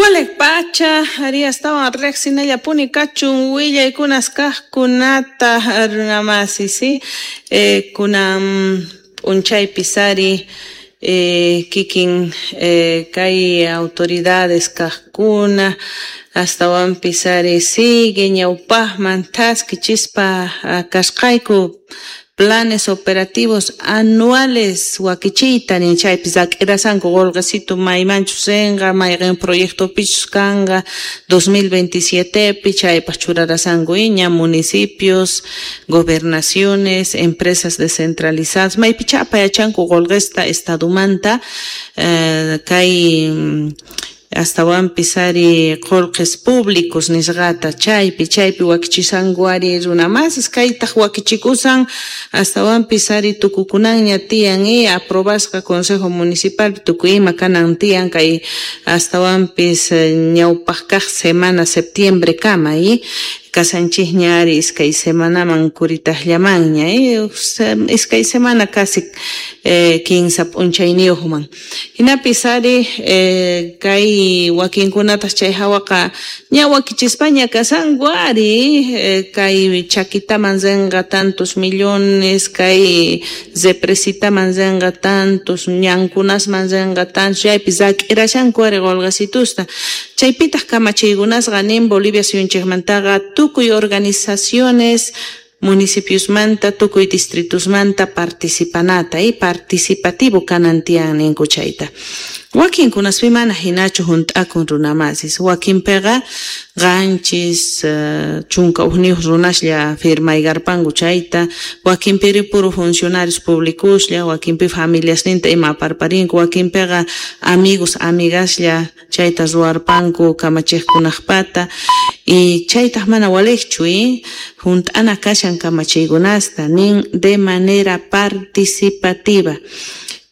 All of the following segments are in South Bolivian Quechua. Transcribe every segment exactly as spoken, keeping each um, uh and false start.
Walej pacha, ari astawan riqsinallapuni kachun willaykunas kaqkunata runamasi, si eh, kunan p'unchaypis ari eh, kikin eh, kay autoridades kaqkuna astawanpis ari sigue ñawpaqman thaskichispa kasqayku planes operativos anuales wakichiyta nin chaypis rak'irasanku qullqisitu maymanchus rinqa mayqin proyectopichus kanqa dos mil veintisiete chaypaq churarasanku ña municipios, gobernaciones, empresas descentralizadas maypicha apayachanku qullqista estadumanta eh, kay astawanpis ari qullqis públicos nisqata chaypi chaypi wakichisanku ari runamasis kaytaq wakichikusan astawanpis ari tukukunanña tiyan y aprobasqa consejo municipal tukuy ima kanan tiyan kay astawanpis ñawpaq kaq semana septiembre kama y kasanchikña ari iskay semanaman kuritaqllamanña eh, iskay semana casi eh, kinsa p'unchayniyuqman hinapis ari eh, kay wakinkunataq chay hawaqa ña wakichispaña kasanku ari eh, kay chakitaman rinqa tantos millones kay represitaman rinqa tantos ñankunasman rinqa tantos chaypi rak'irashanku ari qullqisitusta chaypitaq kamachiykunasqa nin Bolivia suyunchikmantaqa tukuy organizaciones municipiosmanta tukuy distritosmanta participanata y participativo kanan tiyan ninku chayta wakinkunaspi mana hinachu hunt'akun runamasis wakinpiqa qanchis uh, chunka ukniyuq runaslla firmaykarpanku chayta wakinpiri puro funcionarios públicoslla wakinpi familiasninta ima aparparinku wakinpiqa amigos amigaslla chayta ruwarpanku kamachiqkunaqpata y chaytaq mana waliqchu y hunt'ana kashan kamachiykunasta nin de manera participativa.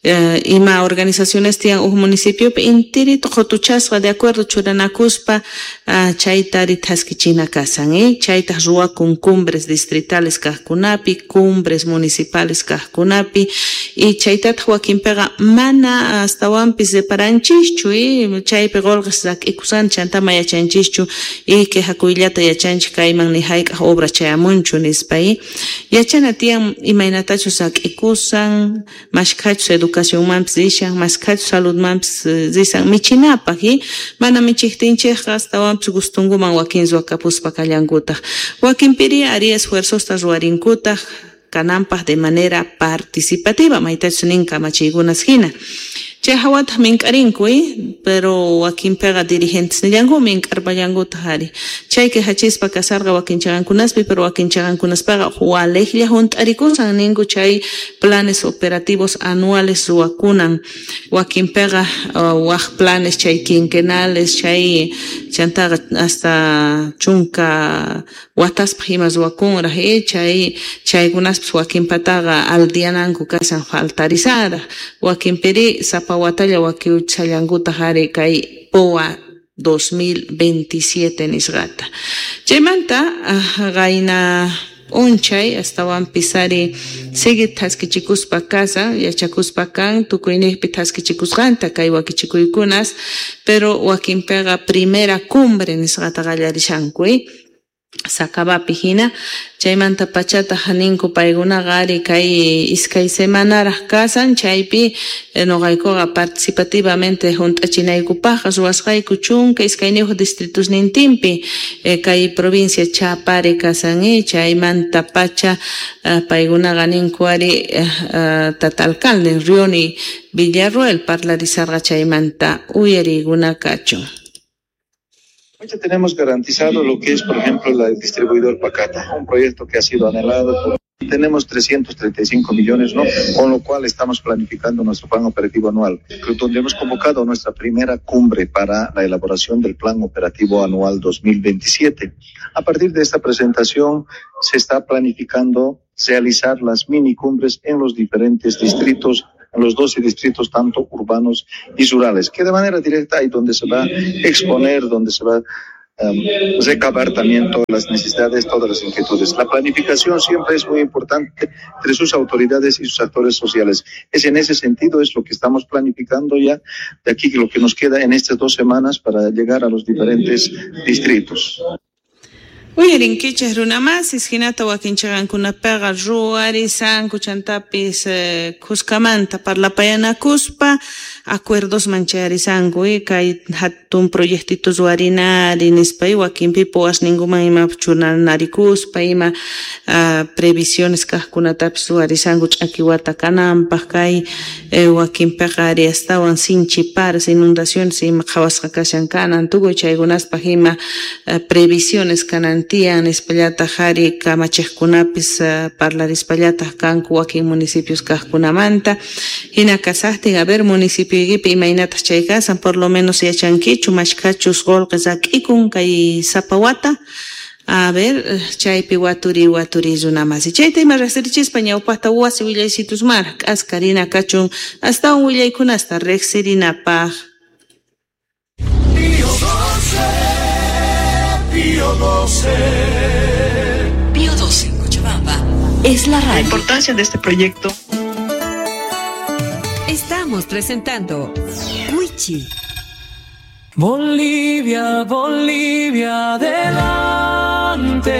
Uh, ima organizaciones tiyan uj municipiopi intirito qutuchasqa de acuerdo churanakuspa uh, chayta ari thaskichina kasan eh? Chaytaq ruwakun cumbres distritales kaqkunapi cumbres municipales kaqkunapi y chaytataq wakinpiqa mana astawanpis reparanchikchu eh? Chaypi qullqis rak'ikusan chantama yachanchischu y quejakuyllata yachanchik kayman ni hayk'aq obra chayamunchu nispa eh? Yachana tiyan imaynatachus rak'ikusan mashkhachus educación educacionmanpis rishan mashkhachus saludmanpis risan michinapaq y mana michiqtinchikqa astawanpis gustunkuman wakin ruwakapuspa kallankutaq wakinpiri ari esfuerzosta ruwarinkutaq kananpaq de manera participativa maytachus nin kamachiykunas hina chay hawataq mink'arinku eh? Pero wakinpiqa dirigentes nillanku mink'arpallankutaq ari chay quejachispa kasarqa wakin chaqankunaspi pero wakin chaqankunaspaqa waliqlla hunt'arikusan ninku chay planes operativos anuales ruwakunan wakinpiqa uh, waq planes chay quinquenales chay chantaqa hasta chunka wataspaq ima ruwakunraq eh? Chay chaykunaspis wakinpataqa aldiananku kasan faltarisaraq wakinpiri sapa watalla wakiuchallankutaq ari kay P O A dos mil veintisiete nisqata chaymanta qayna p'unchay astawanpis ari sigue thaskichikuspa kasan yachakuspa kan tukuyniqpi thaskichikusqanta kay wakichikuykunas pero wakinpiqa primera cumbre nisqata qallarishanku eh? Sakabapi hina chaymanta pachataq ninku paykunaqa ari kay iskay semanaraq kasan chaypi noqaykuqa participativamente hunt'achinaykupaqqa ruwasqayku chunka iskayniyuq distritosnintinpi kay provincia Chapare kasan eh? Chaymanta pacha paykunaqa ninku ari tata alcalde Rioni Villarroel parlarisarqa chaymanta uyariykuna kachun. Hoy ya tenemos garantizado lo que es, por ejemplo, la distribuidor Pacata, un proyecto que ha sido anhelado. Por... Tenemos trescientos treinta y cinco millones, ¿no? Con lo cual estamos planificando nuestro plan operativo anual, donde hemos convocado nuestra primera cumbre para la elaboración del plan operativo anual dos mil veintisiete. A partir de esta presentación se está planificando realizar las mini cumbres en los diferentes distritos, en los doce distritos, tanto urbanos y rurales, que de manera directa ahí donde se va a exponer, donde se va um, recabar también todas las necesidades, todas las inquietudes. La planificación siempre es muy importante entre sus autoridades y sus actores sociales. Es en ese sentido, es lo que estamos planificando ya de aquí lo que nos queda en estas dos semanas para llegar a los diferentes distritos. Uyarinkichej runamasis hinata wakinchaqankunapiqa ruwarisanku chantapis eh, khuskamanta parlapayanakuspa acuerdosman chayarisanku eh, kay hatun proyectito ruwarinari nispa y wakinpi puwasninkuman ima chunanarikuspa ima uh, previsiones kajkunatapis ruwarisanku ch'aki wata kananpaq kay eh, wakinpiqa ari astawan sinchi paras inundaciones ima qhawasqa kashan kanan tukuy chaykunaspaq ima uh, previsiones kanan tiyan nispallataq ari kamachejkunapis uh, parlarispallataq kanku wakin municipios kajkunamanta hina kasaqtin a ver municipioykipi imaynataq chay kasan por lo menos yachankichu mashkhachus qullqi rak'ikun kay sapa wata. A ver, chaypi waturi waturi runamasi. Chayta ima riqsirichispa ñawpaqta wasi willaysitusmara k'askarina kachun astawan willaykunasta riqsirinapaq. Pío doce, Pío doce. Pío doce en Cochabamba es la radio. La importancia de este proyecto. Estamos presentando Wichi. Bolivia, Bolivia, adelante.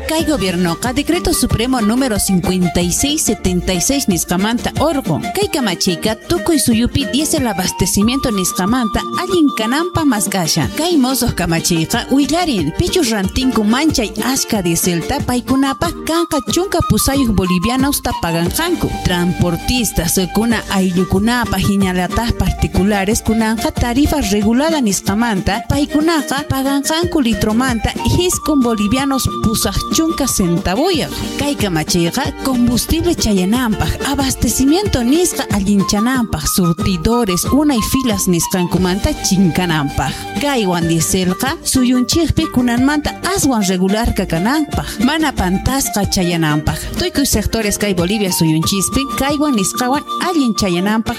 Kay gobiernoqa decreto supremo número cincuenta y seis setenta y seis nisqamanta orqun. Kay kamachiyqa tukuy suyupi diésel abastecimiento nisqamanta allin kananpaq mask'ashan. Kay mosoq kamachiyqa willarin pichus rantinku manchay ashka dieselta paykunapaq kanqa chunka pusayuq bolivianosta paganqanku. Transportistas kuna ayllukunapaq hinallataq particulares kunanqa tarifa regulada nisqamanta paykunaqa paganqanku litromanta hiskun bolivianos pusaq chunka centavuyaq. Kay kamachiyqa combustible chayananpaq, abastecimiento nisqa allinchananpaq, surtidores unay filas nisqankumanta chinkananpaq. Kaywan dieselqa suyunchikpi kunanmanta aswan regularqa kananpaq, mana pantasqa chayananpaq. Tukuy sectores kay Bolivia suyunchispi kaywan nisqawan allin chayananpaq.